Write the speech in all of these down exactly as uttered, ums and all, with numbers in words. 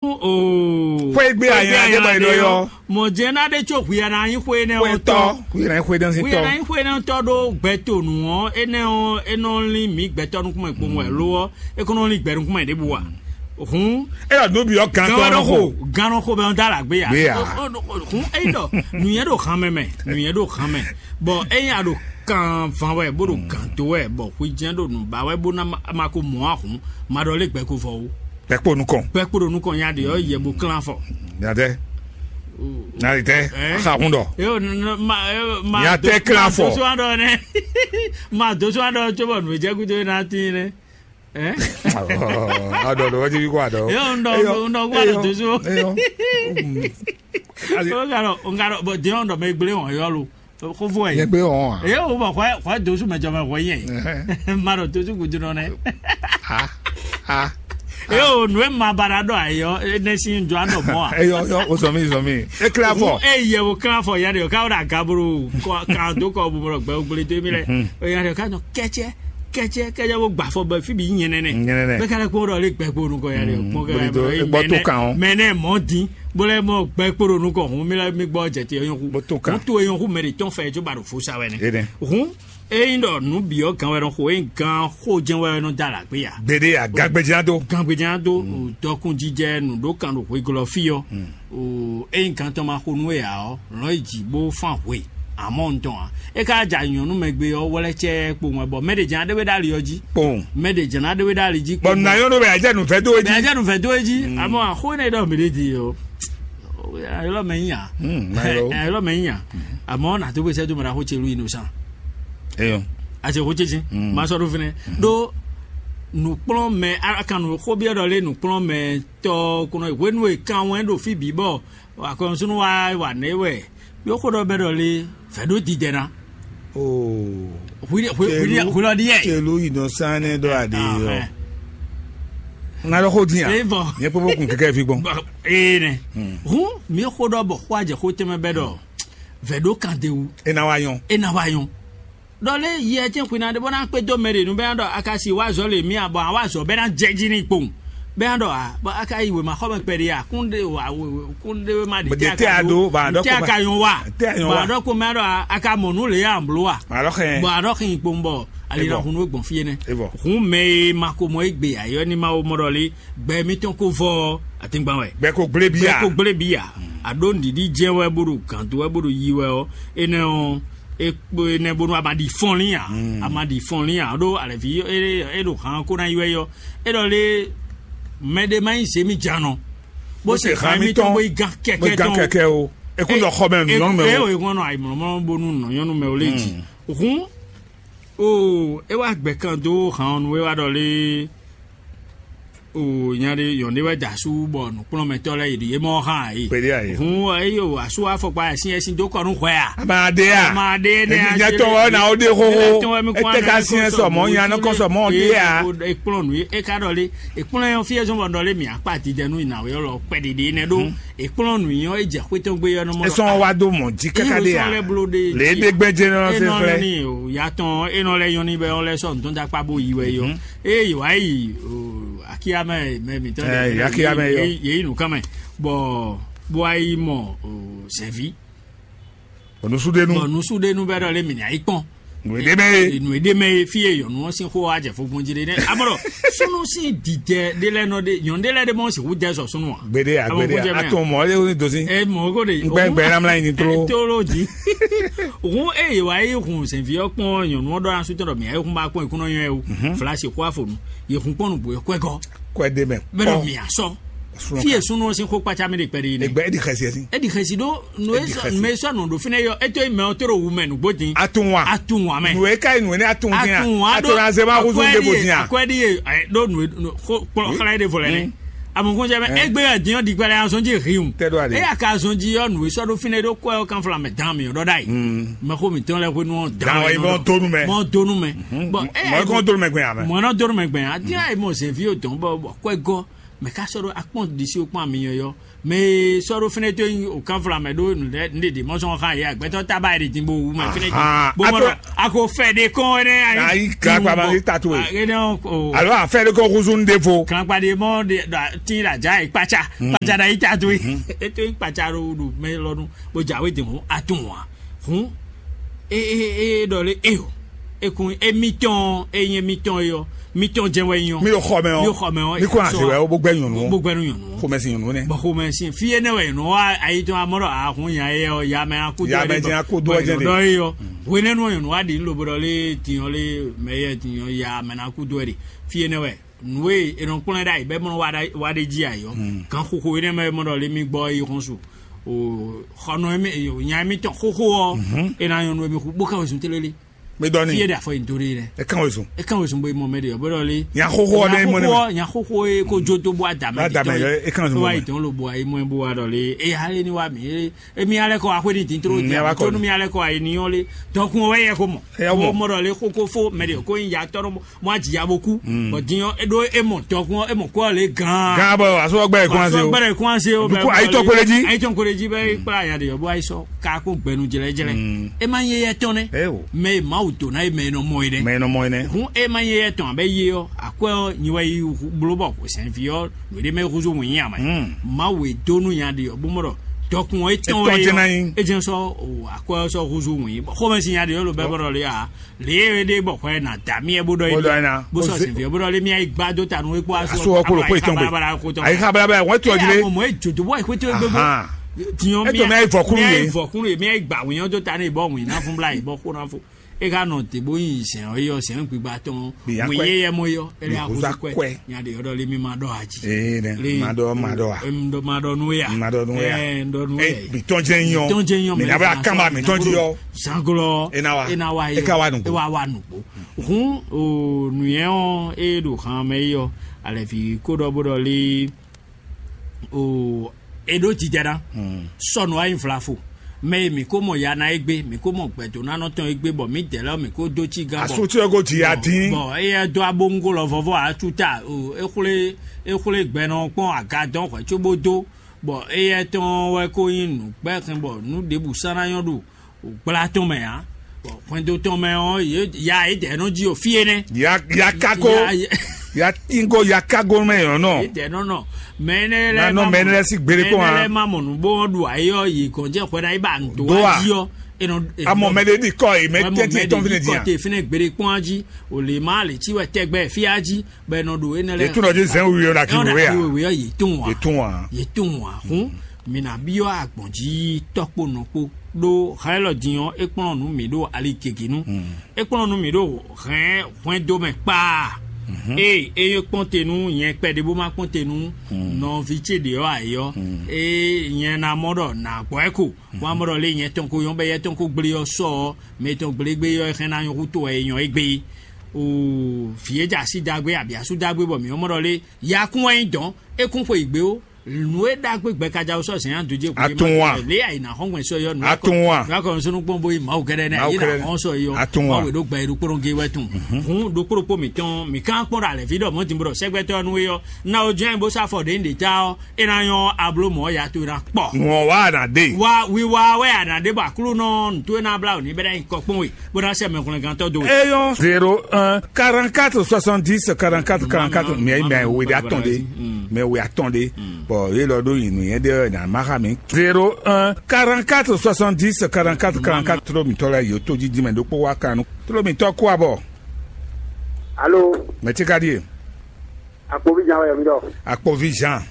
Oo. Xwé gbé ayan ɖé bɔ è nɔ ylɔ́. Mɔ̌ jɛ́n ná ɖé có hwi ana nyí xwé énɛ́ ɔ́ tɔ́. Xwé ná nyí xwé énɛ́ sín tɔ́. Hwi ana nyí xwé énɛ́ tɔ́ ɖó gbɛtonu ɔ́, énɛ́ ɔ́ é nɔ lín mǐ gbɛtɔ́ nukúnmɛ kpowun wɛ lo ɔ́, é kó nɔ lín gbɛ nukúnmɛ ɖěbǔ ǎ. Hǔn É ɖɔ nǔ bǐ ɔ́ gán gán tɔ́ wɛ nɔ ɖo xo. Xo, gán nɔ xo bɛ ɔ́ dó alǎgbé ǎ. Gbé ǎ. Ó, ó, ó, hǔn é ɖɔ nǔnyɛ ɖo han mɛ mɛ, nǔnyɛ ɖo han mɛ, bɔ ényí a ɖo kan van wɛ bó ɖo gǎn dó wɛ bɔ hwi jɛ́n ɖo nǔ ba wɛ bó ná ma, ma ko mɔ ahǔn, ma ɖɔ lé gbɛ ko vɔ ó. Gbɛ kpo nukɔn. Gbɛ kpo ɖo nukɔn nya ɖe ɔ́ yɛ bo klán afɔ. Nya tɛ. Nya ɖi tɛ. Ɛ? Axa hun ɖɔ. Yo, n- n- ma yo, ma Nya do- tɛ klán ma afɔ. Doso aɖɔ nɛ. Ma doso aɖɔ tso bɔ nǔ jɛ kudo na tin nɛ. Ɛ? Aɖɔ ɖɔ wájú bí kó aɖɔ. Yo, n ɖɔ- Eyɔ. N ɖɔ kó aɖɔ Eyɔ. Doso. Eyɔ. Mm. O ka ɖɔ o ka ɖɔ bɔ diɛ n ɖɔ mɛ gblé wɔn yɔ lo. Xófó ɛ. Yɛ gbé wɔn a. Eye wo bɔ xɔ xɔ dosu mɛ jɔmɛ xɔ yɛ. Ɛhɛn. Ma ɖo dosu kudu nɔ nɛ. Ha ha. Eye o nue ma ba ɖa ɖɔ ayɔ ne si jɔ anɔ mɔ a. Eyɔ yɔ o sɔ mi sɔ mi. E kla fɔ. E yɛ wo kla fɔ ya de o ka wo da gaburu kɔ kan do kɔ bu bɔ gbɛ o gbele to mi lɛ. O ya de o ka nɔ kɛtsɛ kɛtsɛ kɛtsɛ wo gba fɔ bɛ fi bi nyɛ nɛnɛ. Nyɛ nɛnɛ. Bɛ ka lɛ kpɔ ɖɔ le gbɛ kpo nukɔ ya de o kpɔ kɛ Gbele to e gbɔ to kan o. Mɛ nɛ mɔ din. Bó lɛ́ mɔ gbɛ kpo ɖo nukɔn hǔn mì lɛ́ mì gbɔ jɛ te yɔn hu. Bó to kan. Hǔn to yɔn hu mɛ ɖe tɔn fɛ jó ba ɖo fo sa wɛ nɛ. Énɛ́. Hǔn ényí ɖɔ nǔ bǐ ɔ́ gan wɛ nɔ xo ényí gan xó jɛ́n wɛ nɔ dó alǎgbé ya. Gbeɖé ya gagbejá dó. Gangbejá dó dɔkunnjijɛ nǔ ɖó kan ɖo hweglɔ́ fí ɔ́. O ényí gan tɔn ma xo nú we ǎ ɔ́, lɔ̌n yi jǐ bó fán hwe. Amɔ̌ un tɔn ǎ. É ka ja nyɔ̌nu mɛ gbe ɔ́ wlɛ́ cɛ́ kpo wɛn bɔ mɛ ɖě jɛ́n ɖé we ɖo ali ɔ́ jí. Kpɔn. Mɛ ɖě jɛ́n ɖé we ɖo ali jí. Bɔn nayɔ́ nɔ bɛ ajá nùfẹ́ dó é jí. Bɛ ajá nùfẹ́ dó é jí. Amɔ̌ axó énɛ́ ɖɔ mǐ ɖe di o. Ayɔlɔ mɛ nya. Hmm, ayɔlɔ. Ayɔlɔ mɛ nya. Amɔ̌ nà tó gbèsè tó mɛ ɖaxó ce lu innocent. Eyɔ. Ase xó ce ce. Hmm. Ma sɔ ɖó fínɛ. Ɖó nǔkplɔ́nmɛ akan nǔ xó byɔ́ ɖɔ lé nǔkplɔ́nmɛ tɔ́ kúnɔ hwenu e kan wɛn ɖo fí bǐ bɔ akɔnusúnú wa wa nɛ wɛ. Yɔ xó ɖɔ bɛ ɖɔ lé fɛ ɖó didɛ ná. Oo. Hwi hwi hwi hwi lɔ ɖi yɛ. Celu innocent ne ɖo aɖe yɔ. Ahɛn. Ŋa ɖɔ xó din a. Ee vɔ. Nyɛ kpɔkpɔ kun kɛkɛ fi gbɔn. Ee nɛ. Hun mi xó ɖɔ bɔ xó ajɛ xó tɛmɛ bɛ ɖɔ. Vɛ ɖó kan de wu. E na wa nyɔ. E na wa nyɔ. Ɖɔ lé yɛ tɛn xwina ɖe bɔ na kpé dó mɛ ɖe nu bɛ na ɖɔ akasi wa zɔ le mi a bɔ awa zɔ bɛ na jɛ jí ni kpowun. Bɛ na ɖɔ a bɔ aka yi wema xɔ mɛ kpɛɖi a kún ɖe wa kún ɖe ma ɖe Bɔ tɛ de tɛ a aka do, do ba dɔ tɛ ko aka ma. Yɔn wa. Tɛ a yɔn Ba wa. Dɔ ko mɛ ɖɔ a- aka mɔ nu le ya blo wa. Ba dɔ xɛ. Bɔ a dɔ xɛ kpowun bɔ ali E na bɔ. Hun gbɔn fi yɛ nɛ. E bɔ. Hun mɛ e ma ko mɔ egbe ayɔ ni ma wo mɔ ɖɔ le gbɛ mitɔn ko vɔ atingban wɛ. Gbɛ ko gblé bia. Gbɛ ko gblé bia. A ɖo nɖiɖi jɛ wɛ bo ɖo gando wɛ bo ɖo yi wɛ ɔ. Enɛ ɔ ekpo enɛ bonu a ma ɖi fɔnlin a. A ma ɖi fɔnlin a ɖo alɛvi e e ɖo han ko na yi wɛ yɔ. E ɖɔ le mɛ ɖe ma yi zemi janɔ. Bó se han mitɔn bó yi gan kɛkɛ tɔn. Kɛkɛ o. Ekun dɔ xɔ mɛ nuyɔnu mɛ o. E o ekun nɔ ayi mlɔmlɔ bonu nɔyɔnu mɛ o le ji. Hun o e wa gbɛ kan do han ɔnu e wa ɖɔ le. O nya ɖe yɔn ɖe wɛ da su bɔ nukplɔnmɛtɔ lɛ yi ɖi emɔ hã yi. Kpeɖe ayi. Hun eyi o asu afɔkpa ɛsin ɛsin do kɔ nu hwɛ a. Ama de a. Ama de ne a. Nyatɔ wɔ na o de xoxo. Ete ka siɛ sɔmɔ nya nɔ kɔ sɔmɔ de a. Ekplɔn nu e ka ɖɔ le ekplɔn yɔ fi ezɔn bɔ ɖɔ le mi akpa ti dɛ nu ina o yɔ lɔ kpɛ ɖiɖi ne ɖo ekplɔn nu yɔ e jɛ xwetɔ gbe yɔ nɔ mɔ. Esɔn wa do mɔ ji kaka de a. Lɛ de gbɛjɛ nɔ se flɛ. Ni o yatɔn enɔ lɛ yɔn ni bɛ ɔlɛ sɔ ntɔn dakpa bo yi wɛ yɔ. Eye wǎ yi akíyá mɛ mɛ mǐtɔn Ɛ, akíyá mɛ yɔ. Yě yí nǔkan mɛ bɔ bó wá yi mɔ sɛ̌ví. Onusudenu. Bɔ nusudenu bɛ ɖɔ lé mǐ ná yi kpɔn. Nǔ e ɖe mɛ ye. Nǔ e ɖe mɛ ye fí e yɔnu ɔ́ sín xó wá jɛ fó gbɔn jí ɖé nɛ amɔ̀rɔ súnú sín dìjɛ ɖé lɛ́ɛ nɔ ɖé yɔn ɖé lɛ́ɛ ɖé mɔ sixú jɛ sɔ súnú ǎ. Gbeɖe a Amɔ gbeɖe kó jɛ a mɛ a. Atɔn mɔ ɔlɛ ní dozi. Ɛ mɔ kó de. Gbɛngbɛn ná mlá yin tró. Tolo dzi. Hun eye wa yi hun sɛnvi ɔ́ kpɔn nyɔnu ɔ́ ɖɔ asú tɔn ɖɔ mǐ ayé hun ba kpɔn ìkúnɔ nyɔ ɛ o. Fla si xó afonu. Ye hun kpɔn nugbo yɛ kɔɛ gɔ. Kɔɛ de mɛ. Bɛ dɔ mi asɔ. Fi ye sunu si xo kpatsa mi de kpɛ de yi nɛ. Egbe edi xɛsi ɛsi. Edi xɛsi do nu e sɔ nu e sɔ nu do fi ne yɔ eto yi mɛ o to do wu mɛ nugbo din. Atun wa. Atun wa mɛ. Nu e ka yi nu e ne atun din a. Atun wa do. Atun azema kuzu de bo din a. Akɔɛ di ye do nu e xɔ xlɛ de vɔ lɛ ne. Amukun jɛ mɛ egbe yɛ diɲɔ di gbɛlɛ azɔn ji hiun. Tɛ do a de. Eya ka azɔn ji yɔ nu e sɔ do fi ne do kɔ yɔ kan fla mɛ dan mi yɔ dɔ da yi. Mɛ ko mi tɔn lɛ ko nu dan. Dan wa yi mɔ donu mɛ. Mɔ donu mɛ. Bɔn mɔ e kɔn donu mɛ gbɛ ya mɛ. Mɔ na donu mɛ gbɛ ya. Adi ayi mɔ zevi o dɔn bɔ bɔ kɔɛ gɔ. Mɛ ka sɔ́ ɖó akpɔ́n ɖisí kpɔ́n amiyɔyɔ. Mɛ e sɔ́ ɖó fɛnɛ tó nyi o kanfla mɛ ɖó nǔɖe nǔɖeɖe mɔ sɔn xá yɛ gbɛtɔ taba yɛ ɖe din bo wu mɛ fɛnɛ. Aha, Bo mɔ ato- ɖɔ ako fɛ ɖe kɔn ɛnɛ ayi. Ayi, gakpa ma yi tatu e. Alo afɛ ɖe kɔ húzú nu ɖevo. Kankpa ɖe mɔ ɖe ɖa tin ɖa dza yi kpatsa kpatsa ɖa yi tatu e. Eto yi kpatsa ɖo ɖo mɛ lɔnu bo dza we din hɔn atun wa. Hɔn e e e ɖɔ lé e o. Ekun emitɔn e nyɛ mitɔn e yɔ mitɔn jɛ wɛ nyɔ. Mi ɖo xɔ mɛ ɔ. Mi ɖo xɔ mɛ ɔ. Mi kó na se wɛ o bó gbɛ nyɔnu. Bó gbɛ nu nyɔnu. Xɔmɛsi nyɔnu nɛ. Bɔn xɔmɛsi fi énɛ́ wɛ nyɔnu wa ayi tɔn amɔ ɖɔ ahun nya yɛ ɔ ya mɛ akudo. Ya mɛ jɛ akudo jɛ de. Dɔ ye yɔ. Hwenɛnu nyɔnu wa ɖi lobo ɖɔ lé tiɲɔ lé mɛ yɛ tiɲɔ ya mɛ na kudo ɛ de. Fi énɛ́ wɛ nǔ e è nɔ kplɔ́n ɛ ɖ'ayǐ bɔ é mɔ wa ɖ'ayǐ wa ɖ'é jí ayǐ ɔ́, gan xixo énɛ́ mɛ é mɔ ɖɔ lé mì gbɔ é yi xɔ́n su. O xɔnɔ émí nya émítɔn xóxó ɔ́, é ná nyɔ́ nú émí xú bó ká wezun télélé. Mi dɔ Fí é ni. Ɖe afɔ yi dó ɖe lɛ. E kan wezun. É kan wezun bó yi mɔ mɛ ɖe ɔ́ bó ɖɔ lé. Nya xóxó ɔ́ ɖe mɔ nɛ. Nya xóxó ɔ́ nya xóxó é kó jó tó bó adamɛ Adamɛ yɔ, é kan wezun bó bó wá ma. Yi dɔn lo bó ayi mɔ bó wá ɖɔ lé. É ya lé ní wá mi é émi alɛ kɔ axwé ní dín tró Mm, dín ya wá kɔ tó ní. Mi alɛ kɔ ayi ní yɔ́n lé. Dɔkun ɔ́ wɛ yɛ ko mɔ. Ɛ, ya mɔ. Mɔ ɖɔ lé xókó fó mɛ ɖe kó yin ya tɔ́ mɔ aji ya bó kú. Bɔn din ɔ́ é ɖó é mɔ dɔkun ɔ́ é mɔ kó ɔ́ lé gan. Gan bɔ asɔ gbɛ kún ase o. Gbɛdɛ kún ase o. Duku ayi tɔn kpele jí. Ayi tɔn kpele jí bɛ kpla ya de yɔ bó ayi sɔ ka kó gbɛnu jlɛjlɛ. Mm. E ma nyɛ yɛ tɔn nɛ. Ɛ o. Mɛ e Mawu dó ná ye mɛ e nɔ mɔ ye nɛ. Mɛ e nɔ mɔ ye nɛ. Hun e ma nyɛ yɛ tɔn abɛ ye ɔ́ akwɛ ɔ́ nyi wɛ yi bló bɔ sɛnvi ɔ́ nǔɖé mɛ húzú wǐnyí amɛ. Mm. Mawu e dó nú nya ɖe ɔ́ bó mɔ ɖɔ dɔkun ɔ́ e tɔn Etɔn wɛ jɛ ná yɔ. Nyi. E jɛn sɔ o akwɛ ɔ́ sɔ húzú wǐnyí xɔmɛ si nya ɖe ɔ́ lo bɛ bɔ ɖɔ lé a. Lě e ɖe bɔ xɔ ɛ na da mì ɛ bó ɖɔ Bó ɖɔ é ná. Bó sɔ Ó zé- sin fi ɛ bó ɖɔ lé mì ayi gbá dó ta nú é kpó asu Asu ɔkpó ló kpó ìtàn gbé. Ayi xa balabala wọn tí ɔdí lé. Mo mɔ ejò tó bɔ ìpété gbé bó. Ahan. Tiɲɔ Ètò mi ayi vɔkúnú mi ayi yé. Vɔkúnú yé mi ayi gbà wíyɔn tó ta ní ìbọn wìn náà fún bla ìbọn kó náà fún. É ká nɔ tè bó yin sɛn ɔyɔ sɛn gbígbá tɔn. Bìyà wìn kwɛ. Yé yɛ mɔ yɔ. Ẹlẹ Bìyà àkóso kóso kwɛ. Kwɛ. Nya de yɔdɔ lé mi ma ɖɔ aji. Ee nɛ Lé- ma ɖɔ ma ɖɔ wa. Em, ɖɔ ma ɖɔ nú ya. Ma ɖɔ nú ya. Ɛ, ɖɔ nú Ɛ, ya. Mìtɔn jɛ nyɔ. Mìtɔn jɛ nyɔ, Mìna mɛ bɛ na akama sɔn mìtɔn na ji yɔ. Zanglo. Ena wa. Ena wa ye. Eka wa nugbo. Ewa wa nugbo. Hun o nuyɛ ɔ e ɖo han mɛ yi ɔ alɛvi ko ɖɔ bo ɖɔ li o e ɖo jijɛ na. Sɔnu ayi nflafo mɛ yi mi ko mɔ yana egbe mi ko mɔ gbɛdonanɔ tɔn egbe bɔ mi dɛ lɛ mi ko do ci gan bɔ Asu tí ɔgó jì yá dín. Bɔn eyɛ dó abongo lɔ vɔvɔ atu ta o exwle exwle gbɛnɔ kpɔn agadɔn hwɛ tso bó dó bɔ eyɛ tɔn wɛ ko nyi nǔgbɛxin bɔ nú ɖěbǔ sán ná nyɔ́ ɖo gbla tɔn mɛ ǎ. Bɔ hwɛndo tɔn mɛ ɔ́, yě ya yě dɛ nɔ ji o fí énɛ́. Ya ya kako Ya- ya- ya tingo ya kago mɛ yɔn nɔ. Yě dɛ nɔ nɔ mɛ énɛ́ lɛ Nanɔ ma mɔ- mɛ énɛ́ lɛ́ sí gbére kpɔ́n mɛ énɛ́ á. Lɛ ma mɔ nǔ bó ɔ́ ɖu ayé ɔ́ yě gɔn jɛ xwɛ ná yi ba nǔ dó Dó a? Wá jí ɔ́. Enɔ Amɔ mɛ ɖe ɖi kɔ yi mɛ tɛntin tɔn fi ne di kɔ yan. Te fi ne gbére kpɔ́n á jí o lè má lè tí wɛ tɛgbɛ fí á jí bɛ nɔ ɖo énɛ́ lɛ. Yě tún nɔ dzi zɛn wíwí ɔ́ na kí Ɛnɔ wíwí na a. Kí wíwí ɔ́ yě tún wá. Yě tún wá. Yě tún wá hún. Mǐ ná byɔ́ agbɔ̌n jí tɔ́ kpó nɔ kpó ɖó hɛn élɔ́ din ɔ́ é kplɔ́n nǔ mǐ ɖo ali gěgé nu. É kplɔ́n nǔ mǐ ɖo hɛn hwɛndo mɛ kpaa. Ée é kpɔ́n te nú nyɛ kpɛɖé bó má kpɔ́n te nú nɔví ce ɖě ɔ́ ǎ é ɔ́, é nyɛ ná mɔ ɖɔ nǎ gbɔ ɛ ko. Wọ́n á mɔ ɖɔ lé nyɛ tɔn ko nyɔ́ bɔ éyɛ́ tɔn ko gblé ɔ́ sɔ ɔ́, mɛ tɔn gblé gbé ɔ́ é hɛn ná nyɔ́ hú to wɛ é nyɔ́ égbé. Oo, vǐ e jɛ así dagbe abǐ asú dagbe bɔ mǐ mɔ ɖɔ lé yakún wɛ nyí dɔ̌n, é kún xwe yǐ gbé ó. Nǔ e ɖagbe gbɛ ka ja sɔ́ zɛ̌n adó jɛ Atún wa. Lě ayǐ ná xɔ́n gbɛn sɔ yɔ nǔ Atún wa. Nǔ akɔ sɔnú kpɔn bó yi Mawu kɛɖɛ nɛ Mawu yé ná kɛɖɛ. Xɔ́n sɔ yɔ Atún wa. Mawu e ɖó gbɛ e ɖó kpóɖó gé wɛ tún. Hǔn ɖó kpóɖó kpó mǐtɔn mǐ kán kpɔ́n ɖo alɛ̌ví ɖɔ mɔ̌ din bó ɖɔ sɛgbɛtɔ́ nú é ɔ́ ná ó jɛ́n bó sá fɔ ɖě nyí ɖě ta ɔ́ é ná nyɔ́ abló mɔ̌ ya towe ná kpɔ. Ŋɔ wa na de. Wa wiwa wɛ a nǎ ɖe bɔ Aklúnɔ nǔtó e ná blá wǔ ní bɛ́ ná nyí kɔ kpɔ́n we bó ná sɛ mɛhwlɛ́ngántɔ́ dó we. Eyɔn zéro un quarante-quatre soixante-dix quarante-quatre quarante-quatre. Mɛ mɛ wele atɔn de. Mɛ wele atɔn de. Bɔn ye lɔ ɖo yi nuyɛ ɖe na ma xa mi. Zéro un quarante-quatre soixante-dix quarante-quatre quarante-quatre. Tlo mitɔ lɛ yo to didi mɛ ɖokpo wa kanu. Tlo mitɔ kó abɔ. Alo. Mɛ ti ka di ye. Akpovi jan wɛ mi dɔ. Akpovi jan.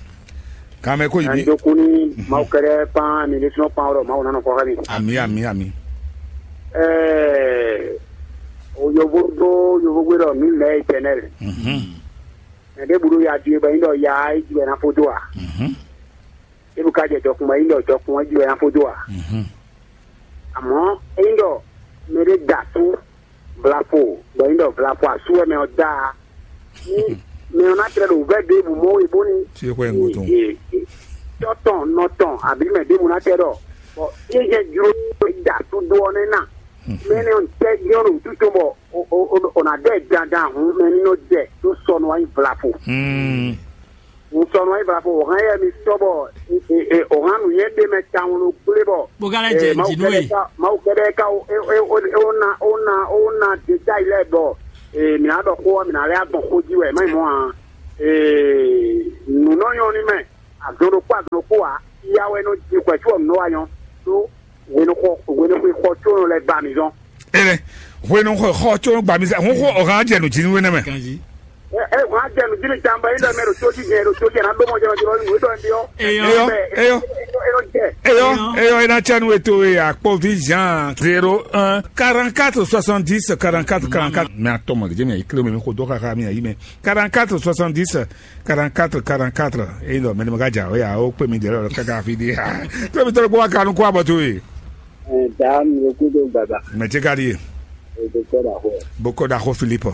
Kame ko yibi. Ndokun ni Mawu kɛɖɛ kpan mi ɖe sunɔ kpan ɔrɔ Mawu nanɔ kɔ xɛ mi. Ami ami ami. Ɛɛ o yovo do yovo gbe dɔ mi mɛ eternel. Mhm. Mɛ ɖe bulu ya di bɛ yin dɔ ya e ji wɛ na fo do a. Mhm. Ebu ka jɛ dɔkun bɛ yin dɔ dɔkun e ji wɛ na fo do a. Mhm. Àmọ́ yin dɔ mɛ ɖe da tú vlafo bɔ yin dɔ vlafo asu wɛ mɛ ɔ da. Ni mɛ ɔ na tlɛ ɖo vɛ ɖe bu mɔ we bóni. Tí ó kọ́ ẹ̀ ń gbó tó. Tɔtɔn nɔtɔn àbí mɛ ɖe mu na tɛ dɔ. Bɔ yé jɛ jlo da tó do ɔ nɛ na. Mɛ ne ɔ tɛ yɔ ɖo tutɔ bɔ o o o na dɛ dandan hun mɛ ni nɔ jɛ tó sɔnù ayi vlafo. Hmm. Un sɔ nɔ yi bla fo o hɛn yɛ mi sɔ bɔ o hɛn nu yɛ ɖe mɛ tawun lo gble bɔ Bó ka lɛ jɛ jí nú e. Mawu kɛdɛ ka o o o o na o na o na deta yi lɛ bɔ mi na dɔ ko mi na lɛ agbɔn ko ji wɛ ma yi mɔ a nu nɔ nyɔ ni mɛ agbɔn ɖo kpó agbɔn ɖo kpó a ya wɛ nɔ ji kwɛ tí wɔ nɔ wa nyɔ tó wɛnɛxɔ wɛnɛxɔ xɔ tó nɔ lɛ ba mi zɔn. Ene, hwenu xɔ xɔ tso gbamisa hun xɔ ɔhan jɛ nu jinu wɛnɛ mɛ. Kanji. Ɛ ɛ wọ́n á jẹ nǔjírí jàmbá yín lọ́mọ ẹ̀rọ tó jíjẹ ẹ̀rọ tó jẹ náà lọ́mọ jẹ ọjọ́ nínú ìdọ̀ ẹ̀dí ọ́. Eyọ. Eyọ. Eyọ. Eyọ jẹ. Eyọ. Eyọ ina tsanu eto e akpɔvi Jean zéro un quarante quatre soixante dix quarante quatre quarante quatre. Mais attends, moi, je me kilo me ko doka ka mi ayi me quarante quatre soixante dix quarante quatre quarante quatre. Et non, mais le gars, ya, o pe mi de la kaka fidi. Pe mi tolo kwa kanu kwa batu. Dame le coup de baba. Mais tu gardé. Et de quoi la. Beaucoup d'argent Philippe.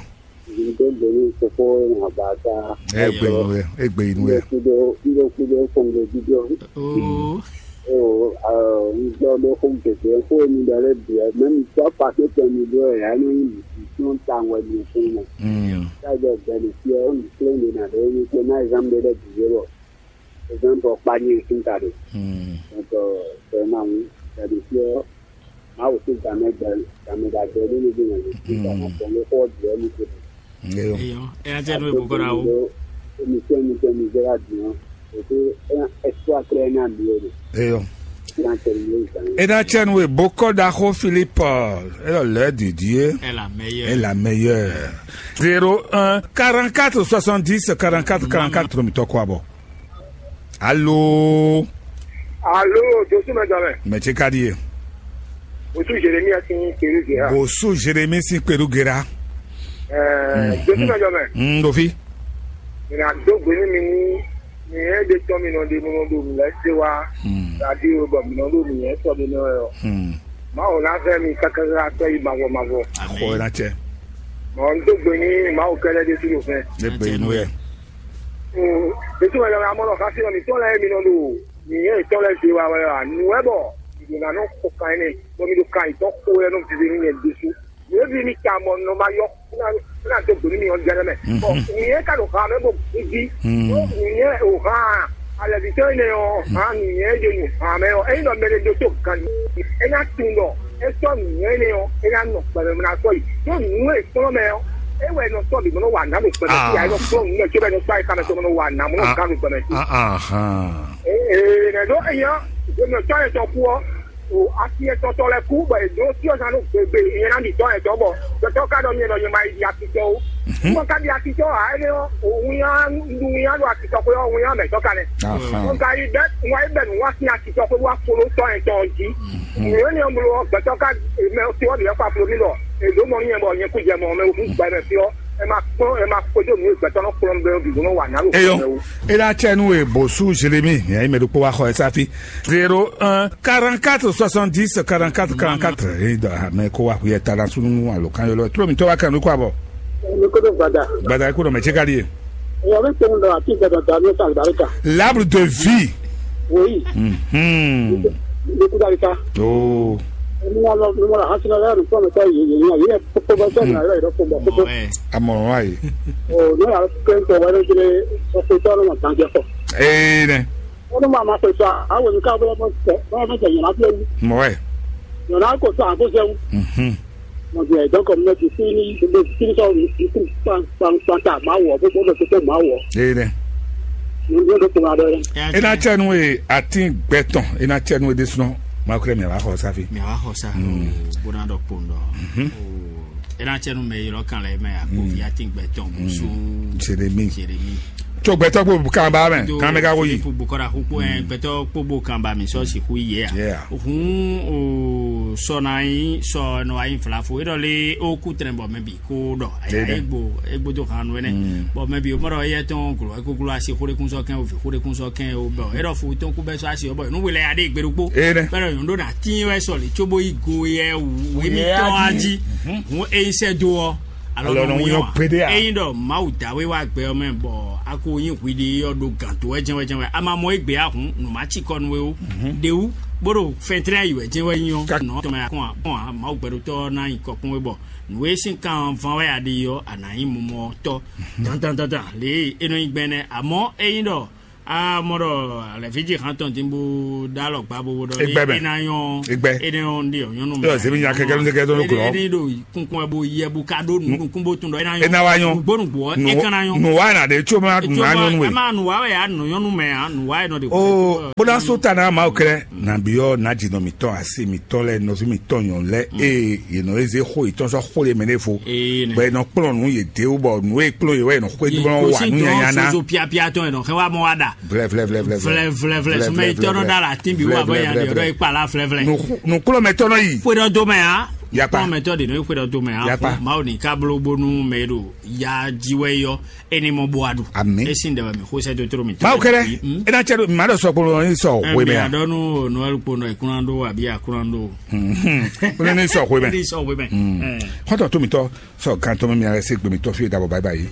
Ndo gbeli koko na ba ta. Egbe inu wɛ, egbe inu wɛ. Ndo kudo ndo kudo kongo dido. Oo. O ndo do ko gege ko ni dale bia même toi pas que ton ni do ya no ni ton tangwa ni ko na. Mm. Ta do beneficiaire ni ko ni na do ni ko na jambe de dido. Exemple, kpanyɛ sunta ɖe. Donc, vraiment, c'est-à-dire que Mawu sín gamɛ gbɛ gamɛ ɖagbe ɖé ní ɖó nyanyi sín gamɛ gbɔn ló xɔ ɖiɛ ní ko. Eyɔ. Eyɔ. Eya tɛ nú ebukɔ ɖa wo. Émission émission mi zéra bien. Et puis, un espoir très énorme lié. Eyɔ. Plan terminé ça. Ena tsɛ nu ebukɔ ɖaxo Philippe. Elɔ lɛ didie. Elle a meilleure. Est la meilleure. Zéro un quarante quatre soixante dix quarante quatre quarante quatre mitɔ kɔ abɔ. Alo. Alo, Josu mɛ jɔ mɛ. Mɛ tse ka di ye. Osu Jeremi asin kpeɖu gera. Osu Jeremi sin kpeɖu gera. Ɛɛ, Josu mɛ jɔ mɛ. N ɖo fi. Mina do gbe ni mi ni mi yɛ de tɔ mi nɔ de mo nɔ do mi lɛ se wa. Radio bɔ mi nɔ do mi yɛ sɔ mi nɔ yɔ. Mawu na fɛ mi kakaka tɔ yi mavɔ mavɔ. Xɔ na cɛ. Mɔ n do gbe ni Mawu kɛlɛ de tu do fɛ. Ne gbe nu yɛ. Ètò ẹ̀rọ amọ̀nà ká sí ọ̀nà ìtọ́lẹ̀ mi nọ lò nìyẹn ìtọ́lẹ̀ ṣe wa wẹ̀ wá nù ẹ bọ̀ ìdènà náà kó kan ẹni bọ́ mi ló ka ìtọ́ kó ẹnu fífi ní yẹn désú yóò bí mi ta mọ̀ nù ma yọ fúnà tó gbòmí mi ọjà lẹ́mẹ̀ bọ̀ nìyẹn ká ló ka mẹ́ bọ̀ gbígbí nìyẹn ò hàn alẹ́bìtọ́ ẹni ọ̀ hàn nìyẹn yóò yóò hàn mẹ́ ọ̀ ẹ̀yin lọ mẹ́lẹ́ dó tó kan ní ẹ̀ náà tún lọ ẹ̀ sọ nìyẹn ẹni ọ̀ ẹ̀ náà nọ pẹ̀lú mi náà sọ yìí yóò nù ẹ̀ sọ́nà mẹ́ ọ̀ ẹ̀ wẹ̀ nọ sọ́ọ̀bì mọ́nà wà nà ló pẹ̀lú sí àyẹ̀wò fúlọ̀ nù ẹ̀ tí ó bẹ̀ ní sọ́ọ̀yì kàmẹ́ tó mọ́nà wà nà mọ́nà gánú pẹ̀lú sí. Ee nɛ ɖo eya gbɛmɛ tɔ kú ɔ o asi etɔtɔ lɛ kú bɔ edo tí ɔzan ló gbegbe ìyẹn náà nìtɔ ɛtɔ bɔ tɔtɔ ká dɔ nyɛ dɔ nyɛ ma yi di akitɔ o mɔ ká di akitɔ a ɛnɛ ɔ òun ya nu ya do akitɔ ko yɔ òun ya mɛ tɔ ka nɛ ɔ ka yi bɛ ŋwa yi bɛ nu wa sin akitɔ ko wa folo tɔ ɛtɔ ji ìyẹn ni ɔmlo gbɛtɔ ká mɛ tí ɔ di ɛkɔ aflo mi lɔ edo mɔ nyɛ bɔ nyɛ kú jɛ mɔ mɛ òun gbɛ mɛ fi ɔ ɛ ma kpɔn ɛ ma kpɔjɔ nu gbɛtɔ nɔ kplɔn bɛ bi nɔ wa nalo eyɔ. Ela tsɛ nu e bosu jeremi yɛ yi mɛ ɖokpó wa xɔ ɛ safi zéro un quarante quatre soixante dix quarante quatre quarante quatre eyi dɔ ame ko wa kuyɛ tala sunu alo kan yɔlɔ tlo mi tɔ wa kan nu ko abɔ. Gbada ko dɔ mɛ tse ka di ye. Eya bɛ tɛmɛ dɔ ati gbada da ne sa alibarika. L'arbre de vie. Oui. Mhm. Ne ko barika. Oh. Ni ma lɔ ni ma lɔ hasina la ni fɔlɔ ta ye ye ye ye ko ba ta na la ko ko. Amɔrɔ wa ye. O ne ya kɛ ko wa ne jele ko ko ta no ma tan je ko. Ee nɛ. Wọ́n máa ma pèsè àwọn olùkọ́ abúlé mọ́ tẹ̀ wọ́n mọ́ tẹ̀ yìnbọn abúlé wú. Mɔ̀wẹ́. Yọ̀nà kò sọ àbúzẹ́ wú. Mọ̀ jẹ́ ẹ̀dọ́ kan mọ́ ti sí ní ilé tí sọ ìkú pàǹpàǹtà máa wọ̀ bó bó tó máa wọ̀. Ee dɛ. Ní ló tó máa dọ́rẹ́. Ina tsɛnu ye ati gbɛtɔn ina tsɛnu ye desɔn. Maa kúrẹ́ mi a b'a xɔ safi. Mi a b'a xɔ sa. Gbóná dɔ kpɔn dɔ. Ina tsɛnu mɛ yɔrɔ kan lɛ mɛ a ko vi ati gbɛtɔn musu. Jeremi. Jeremi. Tso gbɛtɔ kpo kanba mɛ kan mɛ ka ko yi. Kpo bukɔra kpo ɛ gbɛtɔ kpo bo kanba mi sɔ si hu yɛ a. Hun o sɔ na yi sɔ nɔ ayi fila fo e dɔ le o ku tɛnɛ bɔ mɛ bi ko dɔ. Egbo egbo to kan wɛnɛ. Bɔn mɛ bi o mɔdɔ eyɛ tɔn glo eko glo asi xo de kun sɔ kɛn o vi xo de kun sɔ kɛn o bɔn e dɔ fo tɔn ku bɛ sɔ asi o bɔn nu wele ya de gbeɖokpo. Bɛ dɔ yɔn do na tin wɛ sɔli tso bo yi go yɛ wu emi tɔn aji. Hun eyi sɛ do ɔ. Alɔ nɔ wúnyɔ gbeɖé a? Ényí ɖɔ Mawu da we wá gbɛ ɔ́ mɛ bɔ a ko nyí hwiɖi ɔ́ ɖo gǎn tó wɛ jɛnwɛ jɛnwɛ, a ma mɔ égbé a hǔn, nǔ má ci kɔ nú we ó. Ɖewú bó ɖo fɛntlɛ́n yi wɛ jɛnwɛ nyí ɔ́, nɔ tɔmɛ a kɔn a kɔn a Mawu gbɛɖotɔ́ ɔ́ ná nyí kɔkún we bɔ nǔ e sín kan van wɛ a ɖe ɔ́, a nǎ nyí mumɔ tɔ́ dandandandan lě e é nɔ nyí gbɛn nɛ́. Amɔ̌ ényí ɖɔ a mɔ ɖɔ alɛ̌ví jí hán tɔn dín bó ɖó alɔ gbá bó bó ɖɔ Egbɛ mɛ. É ná nyɔ́ Egbɛ. É ná nyɔ́ ɖi nyɔ́nu mɛ. Yɔ, zemi nya kɛkɛ nu kɛkɛ tɔn nukun lɔ. É ní ɖo kunkun wɛ bo yɛ bo ka ɖó nukun bó tún ɖɔ é ná nyɔ́. É ná wá nyɔ́. Nugbo nugbo ɛ, é kan ná nyɔ́. Nùwá ná ɖe tso ma nù ná nyɔ́nu ɛ. Ɛ má nùwá wɛ ya nù nyɔ́nu mɛ ya nùwá yɛ nɔ ɖe. O bó ná só ta ná ma o kɛlɛ nàbí ɔ ná dzi nɔ mi tɔn asi mi tɔn lɛ nɔvi mi tɔn nyɔ lɛ ee yě nɔ eze xó yě tɔn sɔ xó lé mɛ ne fo. Ee, nɛ. Bɔ yě nɔ kplɔn nù yě de wú bɔ nù e kplɔn yě wɛ yě nɔ xó yě dúró wa nù nyanya ná. Soso piapia tɔn yɛ nɔ xɛ wa mɔ wa ɖa. Vlɛ vlɛ vlɛ vlɛ vlɛ vlɛ vlɛ sumɛ yi tɔnɔ da la tin bi wa bɔ ya de ɔdɔ yi kpa la vlɛ vlɛ. Nukplɔmɛtɔ nɔ yi. Xwe dɔ do mɛ ya. Yakpa. Xwe dɔ do mɛ ya. Yakpa. Mawu ni ka blo bonu mɛ do ya ji wɛ yɔ eni mɔ bo adu. Ami. Esi ndɛ wɛ mi xo sɛ dotoro mi. Mawu kɛlɛ. E na cɛ do ma dɔ sɔ kpolo ni sɔ we mɛ ya. Adɔnu noel kpondɔ ikunando abi akunando. Kpolo ni sɔ we mɛ. Ni sɔ we mɛ. Xɔtɔ to mi tɔ sɔ gantɔ mi mi alɛ se gbemi tɔ fi dabɔ bayi bayi.